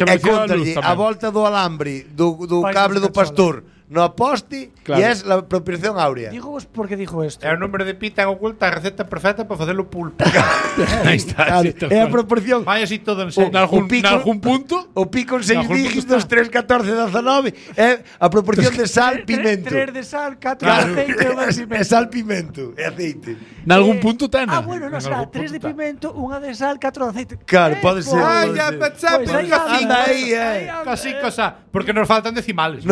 E contalle a volta do alambre do cable do pastor no poste e é a apropiación áurea. Digo vos por que dixo isto. É o número de pi ten oculta a receta perfecta para facelo pulpo. Aí está. É a proporción. Vai así todo en serio. Nalgún punto. O pi con 6 dígitos, 3, 14, 19 é a proporción de sal, pimento. 3 de sal, 4 de aceite e 1 de pimento. É sal, pimento e aceite. Nalgún punto ten. Bueno, non será 3 de pimento, 1 de sal, 4 de aceite. Claro, pode ser. Ai, ya pensaba, anda aí, casi cosa, porque nos faltan decimales.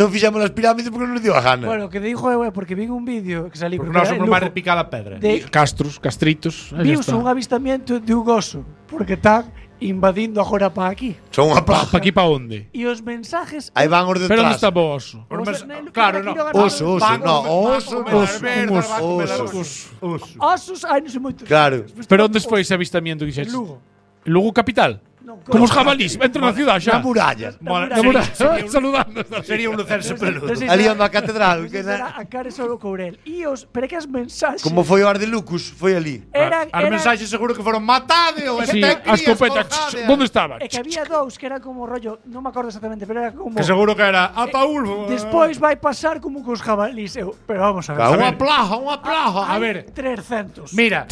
Non fixamos as pirámides porque non nos dio a gana. Bueno, que dijo é porque vi un vídeo que salí porque nós somos máis de picada pedra. Castritos. Vimos un avistamento de un oso porque están invadindo agora para aquí. Son unha plaga. Para aquí para onde? E os mensajes aí van os detrás. Pero onde está o oso? Claro, no. Osos, ai, non sei moito. Claro. Pero onde foi ese avistamento que dixetes? Lugo capital. Como os jabalís, entra na ciudad xa. Na muralla. Saludando. Sería un lucerse peludo. Ali onde a catedral. A cara solo Courel. E os, pero que as mensaxes. Como foi o Ardelucus, foi ali. As mensaxes seguro que foron matade ou sí, a escopeta. Onde estaban? É que había dous que eran como rollo, non me acordo exactamente, pero era como que seguro que era Ataúl. Despois vai pasar como cos jabalís, pero vamos a ver. Unha plaga. A ver, 300. Mira,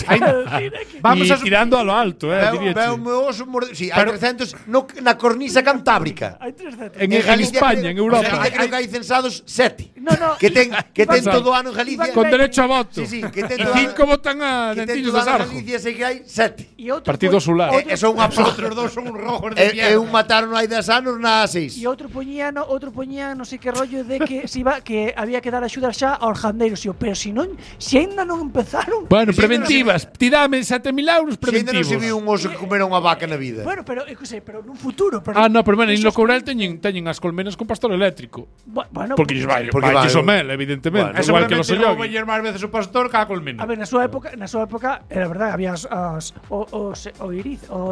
vamos a tirando a lo alto, diría. Veo meu oso, sí, hai 300 na cornisa cantábrica. Hai 300. En España, en Europa. Creo que hai censados 7. No. Que ten todo o ano en Galicia. Con derecho a voto. Sí, que ten 5 votan a Dentillos de Sarjo. Galicia sei que hai 7. Partido Solar. E son unha outros dos son un rojos de mierda. E un mataron hai 10 anos na 6. E outro poñían non sei que rollo de que se iba que había que dar axuda xa aos jandeiros, pero se aínda non empezaron. Bueno, preventivas. Ti dame 7.000 euros preventivos. Se ainda non se viu un oso que comera unha vaca na vida. Bueno, pero nun futuro, no, pero bueno, en lo Courel teñen as colmenas con pastor eléctrico. Bueno, porque lles vai o mel, evidentemente. Igual que los ollogues. Vai máis veces o pastor que a colmena. A ver, na súa época era verdade, había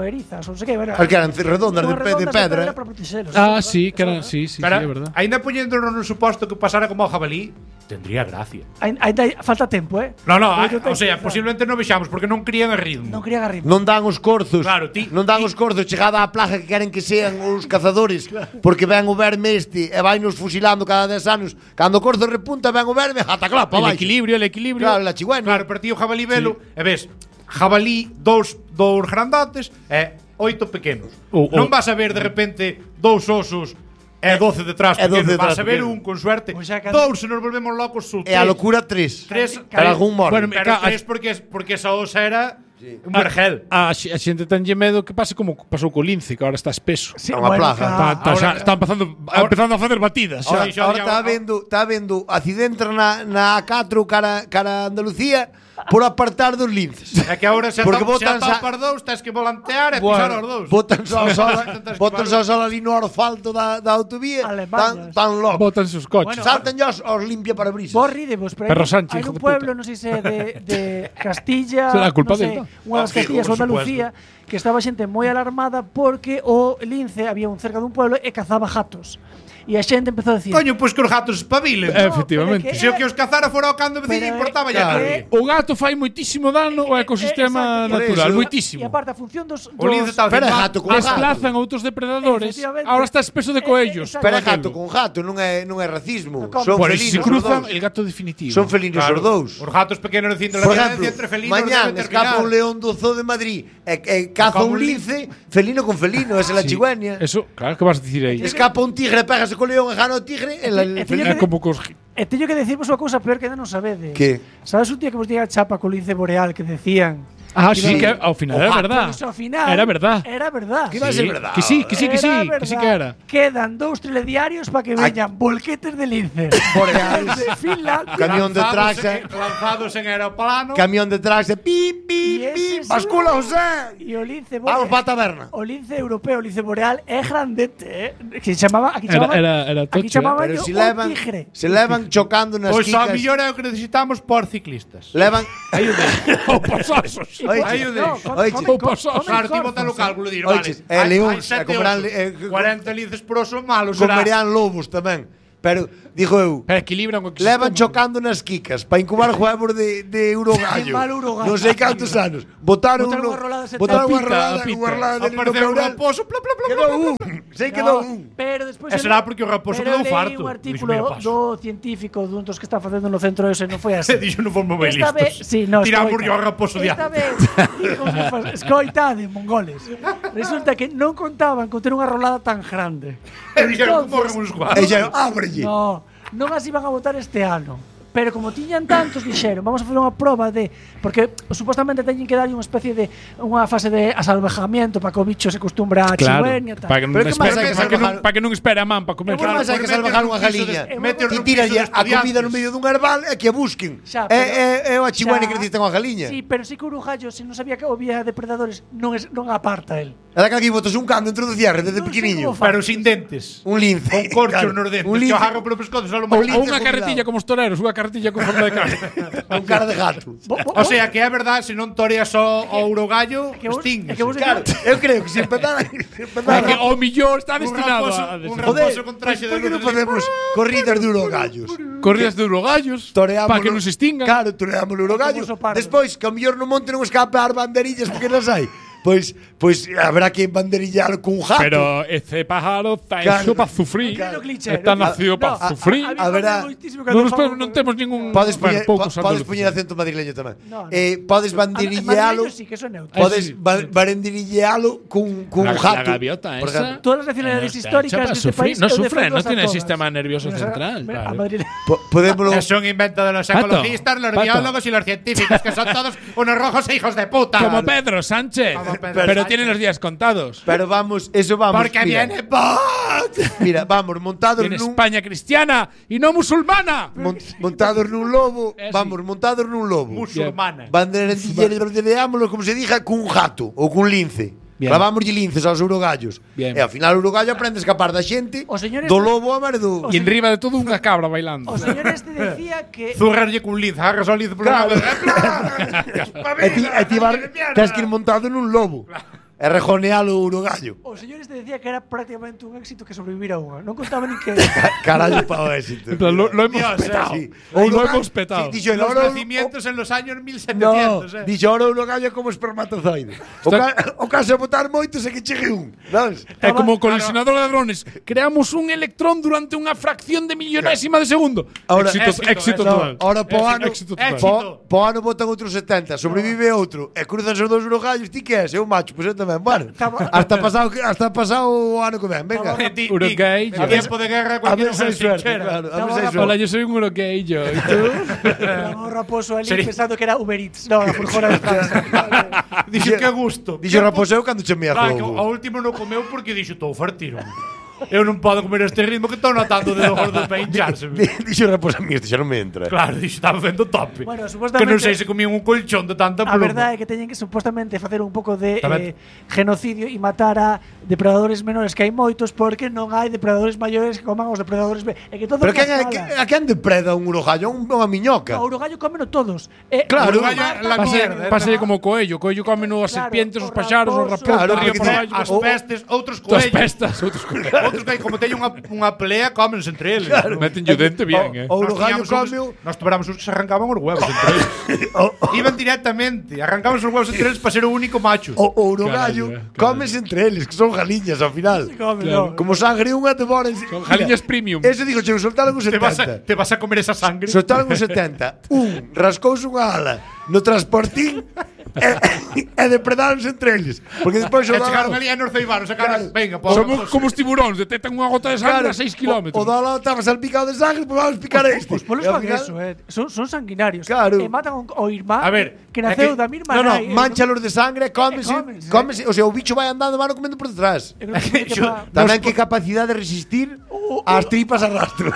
erizas, ou sei que, era. Que eran redondas de pedra. Sí, que eran, sí, é verdade. Ainda poñéndonos no suposto que pasara como o jabalí, tendría gracia. Ainda falta tempo, No, o sea, posiblemente non vexamos porque non crían a ritmo. Non dan os corzos. Claro, non dan os corzos chegada á plaga que queren que sean os cazadores, porque ven o verme e vai nos fusilando cada 10 anos. Cando o corzo repunta, ven o verme, ata clapa, vai. El equilibrio. Claro, la chigüena. Claro, pero ti o jabalí velo, e ves, jabalí, dous grandotes e 8 pequenos. Non vas a ver de repente 2 osos e 12 detrás, porque vas a ver un con suerte. 2 se nos volvemos locos. E a locura 3. Para algún morro. Pero 3 porque esa osa era un vergel. A xente tenlle medo que pase como pasou co lince, que agora está espeso. É unha plaga. Está empezando a facer batidas. Ahora está vendo accidente na A4 cara Andalucía por apartar dos linces. É que agora se atopar dous, tens que volantear e pisar os dous. Botan só ali no asfalto da autovía, tan locos. Botan os coches. Saltan os limpia parabrisas. Vos ridemos, pero hai un pueblo, non sei se de Castilla, non sei, unha das Castillas ou Andalucía, que estaba xente moi alarmada porque o lince había cerca dun pueblo e cazaba gatos. E a xente empezou a decir: coño, pois que os gatos espabilen. Efectivamente. Se o que os cazara fora o cando veciño importaba ya. O gato fai moitísimo dano ao ecosistema natural, moitísimo. E aparte a función dos gato con desplazan outros depredadores. Ahora está espeso de coellos. Pero gato con gato, non é racismo. Son por felinos. Se cruzan, el gato definitivo. Son felinos os dous. Os gatos pequenos de por ejemplo, entre felinos. Mañán escapa un león do zoo de Madrid e caza un lince, felino con felino, esa é la chigüeña. Eso, claro, que vas a dicir aí? Escapa un tigre, pégase co león e gana o tigre, é como cos. E teño que decirvos unha cousa peor que non sabedes. Que? Sabes un día que vos diga chapa co lince boreal que decían? Sí, que ao final era verdad. Era verdad. Que iba a ser verdad. Que sí que era. Quedan 2 telediarios para que veñan volquetes de lince. Boreales. De Finland. Camión de traxa. Lanzados en aeroplano. Camión de traxa. Pi, bascula, José. E o lince boreal. Vamos para a taberna. O lince europeo, o lince boreal, é grandete, Que se chamaba, aquí chamaban pero si tigre. Se levan chocando nas quicas. Pois a mellor é o que necesitamos por ciclistas. Levan o pasosos. Claro, ti bota o cálculo dir, vale. Leóns, 40 linces por oso malos. Comerían lobos tamén. pero dijo eu, Pero equilibran o levan chocando nas quicas para incubar huevos de urogallo. Qué mal urogallo. Non sei cantos anos. Botaron Botaron unha unha rolada de botaron unha pita, rolada, a pita. unha rolada de Apareceu un raposo, pla, pla, pla, pla, Quedou pla, un. Sei quedou un. Pero despois E será porque o raposo pero quedou leí farto. un Dixo, artículo "Mira, paso". do científico dun dos que está facendo no centro ese non foi así. Se dixo non fomos moi Esta vez, listos. sí, no, Tiramos escoita. o raposo de Esta antes. vez, escoitade, mongoles. Resulta que non contaban con ter unha rolada tan grande. E dixeron, Entonces, morren uns cuantos. E xa, ábrelle. No, non as iban a votar este ano. Pero como tiñan tantos, dixeron, vamos a facer unha proba de... Porque supostamente teñen que dar unha especie de... Unha fase de asalvajamiento para que o bicho se acostumbra a chihuén e tal. Para que non Pero que máis hai que salvajar? para que non espere a man para comer. Como máis hai que salvajar unha galiña? Ti tiras a comida no medio dun herbal e que a busquen. Xa, É o chihuane xa, que necesita unha galiña. Sí, pero sí que o urugallo, se non sabía que había depredadores, non aparta el. É daquela que botas un can dentro do cierre desde Non sei pequeniño. como fa. Pero sin dentes. Un lince. Con corchos Claro, nos dentes. un Que lince. o agarro polo pescozo só lo Un máis. lince Ou unha carretilla como os toreros, unha carretilla con forma de cara. Con cara de gato. O sea, que é verdade, se non toreas o urogallo, extingues. Claro, eu creo que se empezara É que o millón está destinado a un Joder, raposo con traxe de por que non luz. facemos corridas de urogallos? corridas de urogallos para que non se extingan. Claro, toreamos o urogallo. Despois, que ao mellor no monte non escape as banderillas porque non hai. Pois habrá que banderillalo cun jato. Pero ese pájaro está Claro, hecho para sufrir. claro. Está nacido para sufrir. a verá, Non temos ningún. Podes poñer, poucos podes andaluces. poñer acento madrileño tamén. No, no. Podes banderillalo. Sí, que eso é neutro. Podes Sí. banderillalo cun La jato. gaviota por esa. ejemplo. Todas las nacionalidades históricas de este país No eu sufre, no defendoas a tiene todas. sistema nervioso central. Mira, a claro. Madrid. Podémoslo. Son inventos de los ecologistas, los Pato. biólogos y los científicos, que son todos unos rojos e hijos de puta. Como Pedro Sánchez. Como Pedro Pero Sánchez. tiene los días contados. Pero vamos, eso vamos. Porque mira. viene Vox. Mira, vamos, montados En nun España cristiana y no musulmana. montados nun lobo, Sí. vamos, montados nun lobo. Musulmana. Banderilleámoslo como se diga cun jato ou cun lince. Bien. Clavámoslle linces aos urogallos. Bien. E ao final o urogallo aprende a escapar da xente, O señor do este- lobo a marido. Y enriba de todo una cabra bailando. O señor este decía que Zurrarlle cun lince, agarras ao lince por Claro. E E ti tens que ir montado nun lobo. E rejonealo o urogallo. o señor este decía que era prácticamente un éxito que sobrevivir a unha. Non contaba nin que Carallo pa o éxito. En plan, lo hemos Dios, petado. Sí. Lo hemos petado. Sí, dixo, Los oro- nacimientos en los años No, 1700, dixo oro urogallo como espermatozoide. O caso de botar moitos é que chegue un, sabes? É como colisionador de hadrones. Creamos un electrón durante unha fracción de millonésima de segundo. Ahora- éxito No, total. ahora po ano, Éxito total. po ano botan outros 70, sobrevive outro, e cruzan os dous urogallos, ti que és? Eu macho, pois eu tamén, bueno. Hasta pasado o ano que ven, venga. En Uruguay, tiempo de guerra, A cualquier ver se hai cosa suerte, sinchera. claro, a ver se hai Hola, suerte. yo soy un uruguayo. ¿Y tú? un raposo ali Sería- pensando que era Uber Eats. No, la furgona de Francia. Dixo que gusto. Dixo raposeu cando che mea Claro, que fogo. ao último non comeu porque dixo estou fartiro. Eu non podo comer este ritmo que estou notando de gordo para hincharse. Dixo raposa mí, este xa non me entra. Claro, dixo estaba vendo tope. Bueno, Que supostamente- non sei se comían un colchón de tanta A pluma. verdade é que teñen que supostamente facer un pouco de Tamén. genocidio e matar a depredadores menores, que hai moitos porque non hai depredadores maiores que coman os depredadores é que todo Pero na quen escala. a quen depreda un urogallo? Unha miñoca. No, o urogallo cómeno todos. Claro. Uruguay é la mierda. Pase como coello. Coello come as Claro, serpientes, os o paxaros, os raposo. raposos, Claro, río porque por te- abaixo. As pestes, outros Todas coellos. pestas, outros coellos. Outros que como teñen unha pelea, cómense entre eles. Meten o dente bien, O Nós urogallo tiñamos uns- comeu. Nós tuberamos uns que se arrancaban os huevos entre eles. Iban directamente, arrancaban os huevos entre eles para ser o único macho. O urogallo Carallo, comes entre eles, que son galiñas ao final. Claro. Como sangre unha te moren. Son galiñas premium. Eso digo, che, soltaron os Te vas 70. te vas a comer esa sangre. Soltaron os 70. Un rascouse unha ala no transportín e depredáronse entre eles. Porque despois E chegaron ali e nos ceibaron, sacaron, venga, por Somos como os tiburóns, detectan unha gota de sangre a 6 kilómetros. O do lado estaba salpicado de sangre, pues vamos picar este. Os polos E ao fan final- eso, son sanguinarios. Claro. E matan ao irmán A ver, que é naceu que- da mesma No, nai. manchalos de sangre, cómese, cómense. o sea, o bicho vai andando, van comendo por detrás. Yo- Tamén que capacidade de resistir ás tripas a rastro.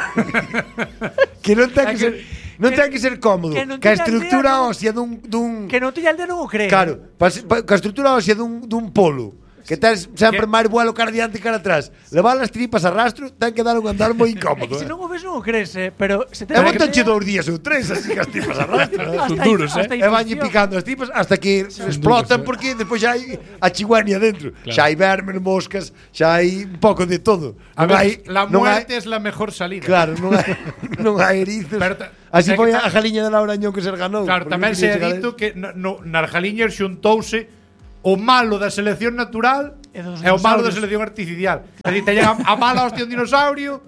Que non ten que ser ten que ser cómodo, que non que a teña estructura aldea, ósea dun Que non tiña aldea non o cree. claro, ca estructura ósea dun polo que tens sempre máis vuelo cara diante que cara atrás. Levar as tripas a rastro ten que dar un andar moi incómodo. Se non o ves non o crees, pero se E botanche 2 días ou 3 así que as tripas a rastro. Son duros, E vanlle picando as tripas hasta que explotan porque despois xa hai a chiguania dentro. Xa hai vermes, moscas, xa hai un pouco de todo. A ver, la muerte es la mejor salida. Claro, non hai erizos. Así foi a galiña de Laura Añón que se ganou. Claro, tamén se ha dito que nas galiñas xuntouse o malo da selección natural e o malo da selección artificial. É dicir, teñen a mala hostia un dinosaurio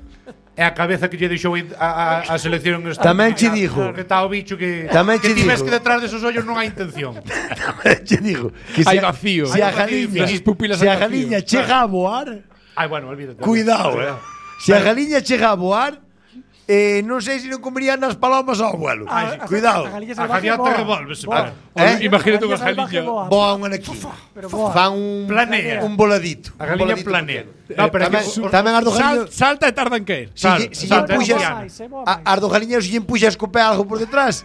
e a cabeza que lle deixou a selección tamén che digo que está o bicho que ti ves que detrás desos ollos non hai intención. Tamén che digo que hai vacío. Se a galiña chega a voar, ai, bueno, olvídate. Cuidado, Se a galiña chega a voar, non sei se non comerían nas palomas ao vuelo. Cuidado. A galiña revolvese. Imagínate unha galiña. Voa un aquí. Fan un planea. Un voladito. A galiña planea. No, pero tamén as do galiña salta e tarda en caer. Si as do galiña se lle empuxa a escoper algo por detrás.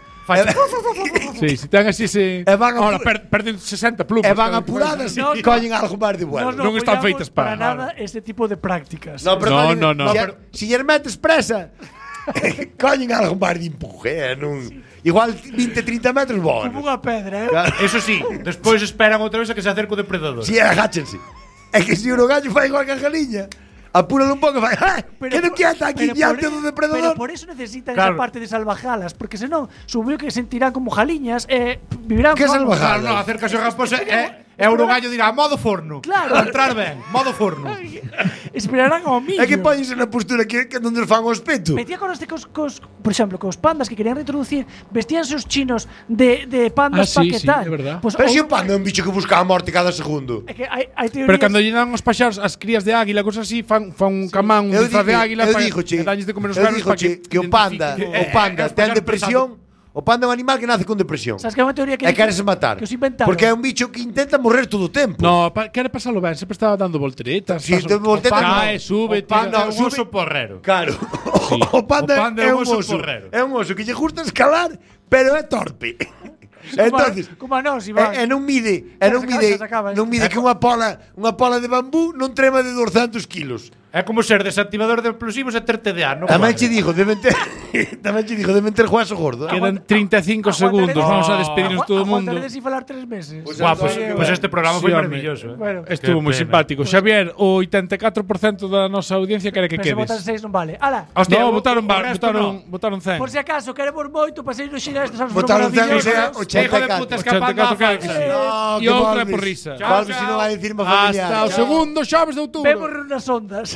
Sí, se ten así se ahora perden 60 plumas. E van apuradas e collen algo máis de vuelo. Non están feitas para nada este tipo de prácticas. No. Si lle metes presa collen algo máis de empuje, igual 20-30 metros voan. Como unha pedra, Eso sí, despois esperan outra vez a que se acerque o depredador. Si, agáchense. É que se o gallo fai igual que a galiña, apúralo un pouco e fai, que non quieta aquí diante do depredador. Pero por eso necesitan esa parte de salvajalas, porque senón subiu que sentirán como galiñas e vivirán que salvajalas. Non, acércase o raposa e o gallo dirá modo forno. Claro. Para entrar ben, modo forno. Esperarán ao millo. É que póñense na postura que onde fan o espeto. Metía conoste por exemplo, cos pandas que querían reintroducir, vestíanse os chinos de pandas paquetal. É verdad. Pero se o panda é un bicho que busca a morte cada segundo. É que hai teorías. Pero cando lle dan os paxaros as crías de águila, cosas así, fan un camán, un disfraz de águila para danlles de comer os vermes para que o panda ten depresión. O panda é un animal que nace con depresión. Sabes que é unha teoría que queres matar. Que os inventaron. Porque é un bicho que intenta morrer todo o tempo. No, quere pasalo ben, sempre estaba dando volteretas. Si, volteretas cae, sube, tira. Un oso porrero. Claro. O panda é un oso porrero. É un oso que lle gusta escalar, pero é torpe. Entonces, como a nós, Iván. Non mide que unha pola de bambú non trema de 200 kilos. É como ser desactivador de explosivos e ter TDA, non? Tamén che dixo, deben ter hueso gordo. Quedan 35 segundos, vamos a despedirnos todo o mundo. Aguantaré sin falar 3 meses. Pues este programa foi maravilloso. Estuvo moi simpático. Xavier, o 84% da nosa audiencia quere que quedes. Se votan 6 non vale. Ala. No, votaron 100. Por si acaso, queremos moito pasei no xira estes anos votaron 100 Hijo de puta escapando a falsa. E outra por risa. Val, se non vai dicir má familiar. Hasta o segundo xoves de outubro. Vemos nas ondas.